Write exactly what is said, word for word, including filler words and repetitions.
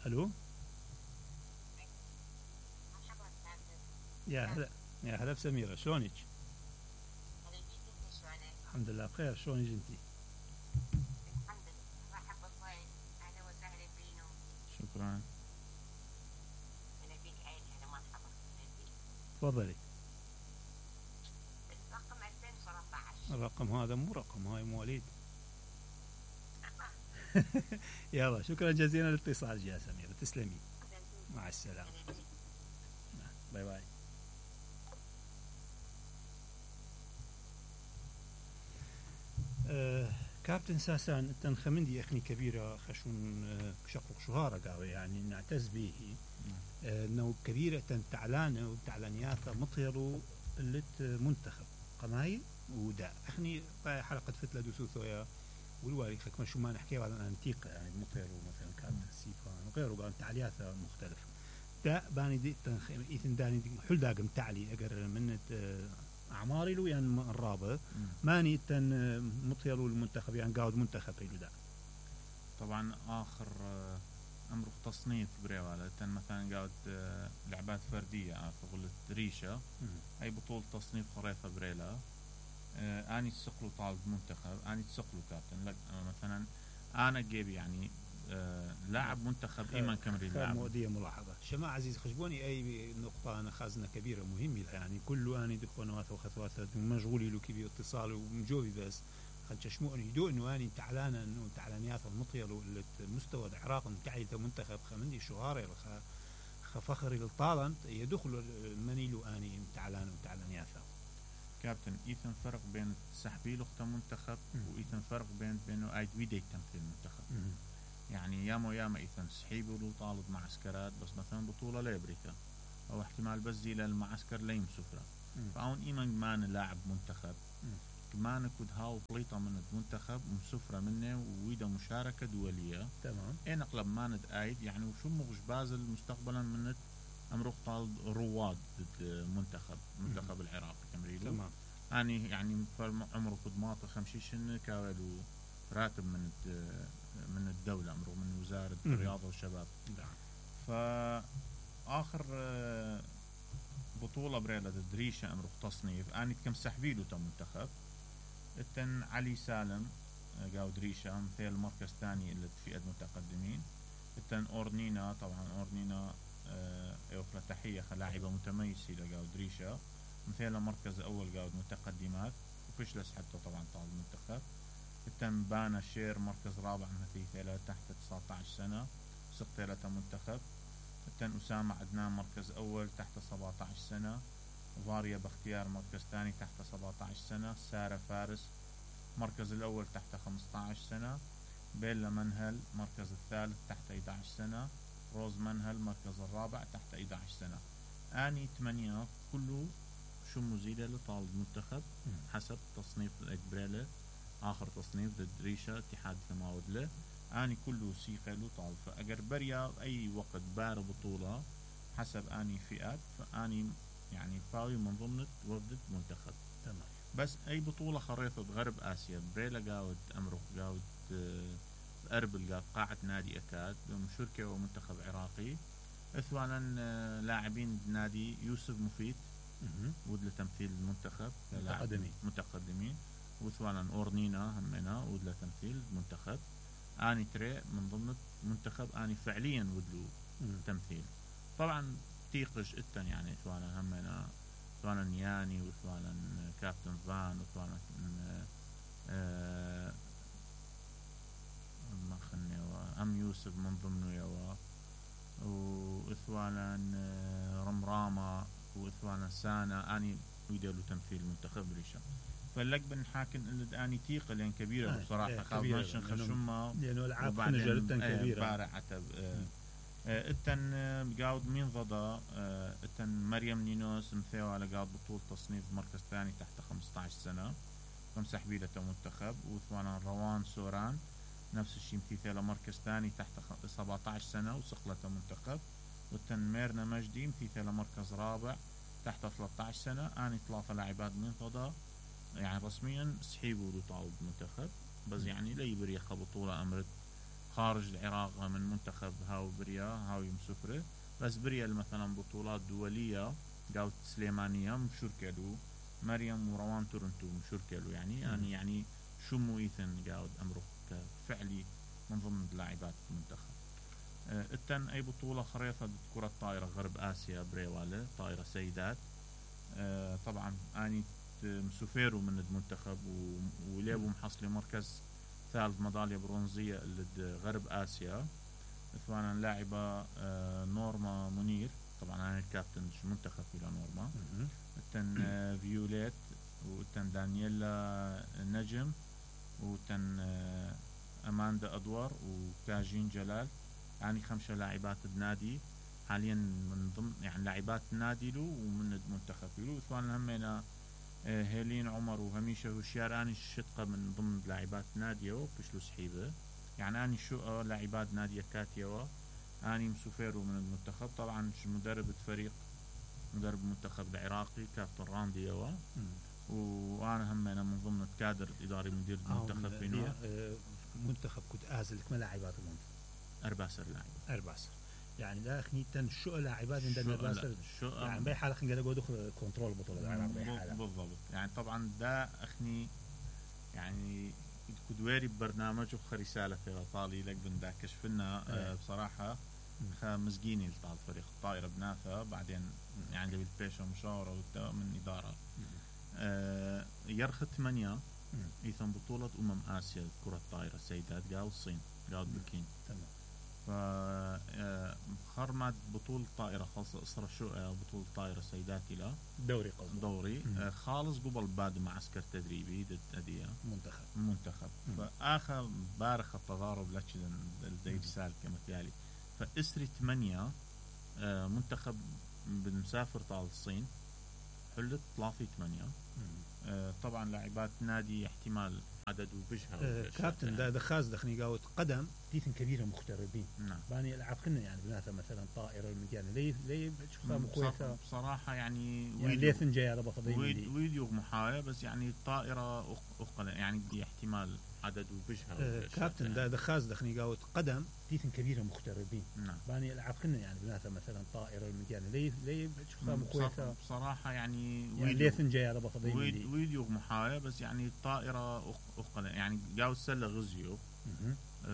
الو يا هلا يا هلا بسميرة، شلونك؟ الحمد لله بخير، شلونك انتي؟ الحمد لله. مرحبا اخوي، اهلا وسهلا بينو. شكرا. انا بيك عيني، انا مرحبا بيك. تفضلي. الرقم ألفين وثلاثة عشر. الرقم هذا مو رقم، هاي مواليد. يلا شكرا جزيلا للاتصال يا سميرة، تسلمي. مع السلامة. باي باي. أه كابتن ساسان انت خمندي اخني كبيره خشون أه شقق شهاره قاوي يعني نعتز به أه انه كبيره تعلانه وتعلانياته مطيرو اللي منتخب قمايل ودا اخني حلقه فتله دوسوثويا والواري خك شو ما نحكي على انتيقه يعني مطيرو مثلا كابتن سيفان وغيره قال تعلياته مختلفه دا باني دي تنخيم ايثن داني دي حل داقم تعلي اقر من أه اعماري له يعني الرابع ماني تن مطيرو المنتخب يعني قاعد منتخب له ده طبعا اخر امر تصنيف بريواله تن مثلا قاعد لعبات فرديه فقلت ريشه اي بطوله تصنيف خريطه بريلا اني تسقلو طالب منتخب اني تسقلو كابتن لك مثلا انا جيبي يعني آه لاعب منتخب ايمن كمري لاعب مودية ملاحظه شماعة عزيز خشبوني اي نقطه انا خازنه كبيره مهمه يعني كله اني دخونات وخطوات مشغولي له كبير اتصال ومجوبي بس خل تشمعني يدو انه اني تعلانا انه تعلانيات المطير المستوى العراق متعيد منتخب خمندي شهاري خفخري للطالنت يدخل منيلو اني تعلان وتعلانيات كابتن ايثن فرق بين سحبيل اخت منتخب وايثن فرق بين بينه ايد ويدي تمثيل المنتخب يعني ياما ياما ايثن سحيب ولو طالب معسكرات بس مثلا بطولة لامريكا او احتمال بس زي للمعسكر ليم سفرة فاون ايمن مان لاعب منتخب كمان كود هاو بليطة من المنتخب مسفرة منه ويدا مشاركة دولية تمام اين اقلب ماند ايد يعني وشو مغش بازل مستقبلا من امرق طالب رواد ضد منتخب منتخب العراق تمريلو تمام اني يعني عمره كود ماطي خمشيشن كاولو راتب من من الدولة أمره من وزارة الرياضة والشباب نعم فآخر بطولة بريلة دريشة أمره تصنيف أنا كم سحبيلو تمنتخب التن علي سالم قاو دريشة مثل المركز الثاني اللي في المتقدمين التن أورنينا طبعا أورنينا يوفر تحية لاعبة متميزة لقاو دريشة مثل المركز الأول قاو متقدمات وفشلس حتى طبعا طال المنتخب التم بانا شير مركز رابع مثيثة تحت تسعة عشر سنة سقطيلة منتخب التن أسامة عدنان مركز أول تحت سبعة عشر سنة فاريا باختيار مركز ثاني تحت سبعة عشر سنة سارة فارس مركز الأول تحت خمسة عشر سنة بيلا منهل مركز الثالث تحت أحد عشر سنة روز منهل مركز الرابع تحت أحد عشر سنة آني ثمانية كله شو مزيدة لطالب منتخب حسب تصنيف الإجبرالي آخر تصنيف ضد ريشة اتحاد ثماود له أني كله سيقة له طالب فأجر بريا أي وقت بار بطولة حسب أني فئات فأني يعني فاوي من ضمن وفدة منتخب تمام بس أي بطولة خريطة غرب آسيا بريلا قاود أمرك قاود أربل قاود قاعة نادي أكاد مشاركة ومنتخب عراقي إثوانا لاعبين نادي يوسف مفيد ودل تمثيل المنتخب متقدمين متقدمين وثوانا أورنينا همنا ودل تمثيل المنتخب أني تري من ضمن منتخب أني فعليا ودلو تمثيل طبعا تيقش التن يعني ثوانا همنا ثوانا نياني وثوانا كابتن فان وثوانا آه ما خلني أم يوسف من ضمنه يوا وثوانا رمرامة وثوانا سانا أني ويدلو تمثيل منتخب ريشة فلك بنحاكم اللي أني تيقة لأن كبيرة آه بصراحة خاصة خشمة لأنه العاب خنجر كبيرة بارع عتب التن قاود مين ضدا التن مريم نينوس مثيو على قاود بطولة تصنيف مركز ثاني تحت خمسة عشر سنة خمسة حبيلة منتخب وثوانا روان سوران نفس الشيء مثيثة مركز ثاني تحت سبعة عشر سنة وسقلة منتخب والتن ميرنا مجدي مثيثة مركز رابع تحت ثلاثة عشر سنة أني ثلاثة لاعبات من ضدا يعني رسميا سحيبوا لطالب منتخب بس يعني لا يبريخ بطولة أمرت خارج العراق من منتخب هاو بريا هاو مسفرة، بس بريا مثلا بطولات دولية قاوت سليمانية مشركلو، مريم وروان تورنتو مشركلو يعني يعني يعني شو مو إيثن قاود أمره كفعلي من ضمن لاعبات المنتخب. اه التن أي بطولة خريطة كرة طائرة غرب آسيا بريوالة طائرة سيدات. اه طبعا أني مسوفيرو من المنتخب وليبو محصلي مركز ثالث ميدالية برونزية لغرب آسيا. ثوانا لاعبة اه نورما منير، طبعا أنا الكابتن منتخب إلى نورما. التن اه فيوليت، وتن دانييلا نجم، وتن اه أماندا أدوار، وكاجين جلال، يعني خمسة لاعبات بنادي حاليا من ضمن يعني لاعبات نادي له ومن المنتخب له. ثوانا همينا اه هيلين عمر وهميشة وشيار، أني الشتقة من ضمن لاعبات ناديو بشلو سحيبة، يعني أني شو لاعبات نادية كاتيوا. أني مسوفيرو من المنتخب، طبعا مدرب فريق مدرب المنتخب العراقي كابتن راندي يوا، وانا هم انا من ضمن الكادر الاداري مدير المنتخب فينا. منتخب كنت ازلك ما لاعبات المنتخب ارباسر لاعب ارباسر يعني لا اخني تن شو لاعبات من ارباسر شو يعني باي حاله خلينا نقول دخل كنترول بطوله العراق باي حاله بالضبط. يعني طبعا ده اخني يعني كنت واري ببرنامج وخ رساله في طالي لك بن كشفنا آه بصراحه خمسجيني لطال فريق الطائره بنافه، بعدين يعني بالبيشة مشاوره من اداره آه يرخ ثمانية ايثم بطولة امم اسيا كرة الطائرة سيدات قاو الصين قاو بكين. تمام. ف خرمت بطولة طائرة خاصة اسرة شو بطولة طائرة سيدات الى دوري قصدي دوري آه خالص قبل بعد معسكر تدريبي ضد اديه منتخب منتخب. فاخر بارخ التضارب لتشدن الدير سال كمثالي. فاسري ثمانية آه منتخب بالمسافر طال الصين حلت ثلاثة ثمانية. آه طبعا لاعبات نادي احتمال عدد وبجها آه كابتن ده دخاز دخني قاوت قدم تيثن كبيره مغتربين. نعم. باني العب كنا يعني بناتها مثلا طائره المجال ليه ليه بتشوفها مخوفه بصراحه يعني يعني ليه جاي على بخضين ويديو محايا، بس يعني الطائره اقل يعني احتمال عدد وبجها. آه كابتن يعني. ده دخاز دخني قاوت قدم تيثن كبيره مغتربين. نعم. باني العب كنا يعني بناتها مثلا طائره المجال ليه ليه بتشوفها مخوفه بصراحه يعني يعني ليه جاي على بخضين ويديو محايا، بس يعني الطائره اقل يعني قاوت سله غزيو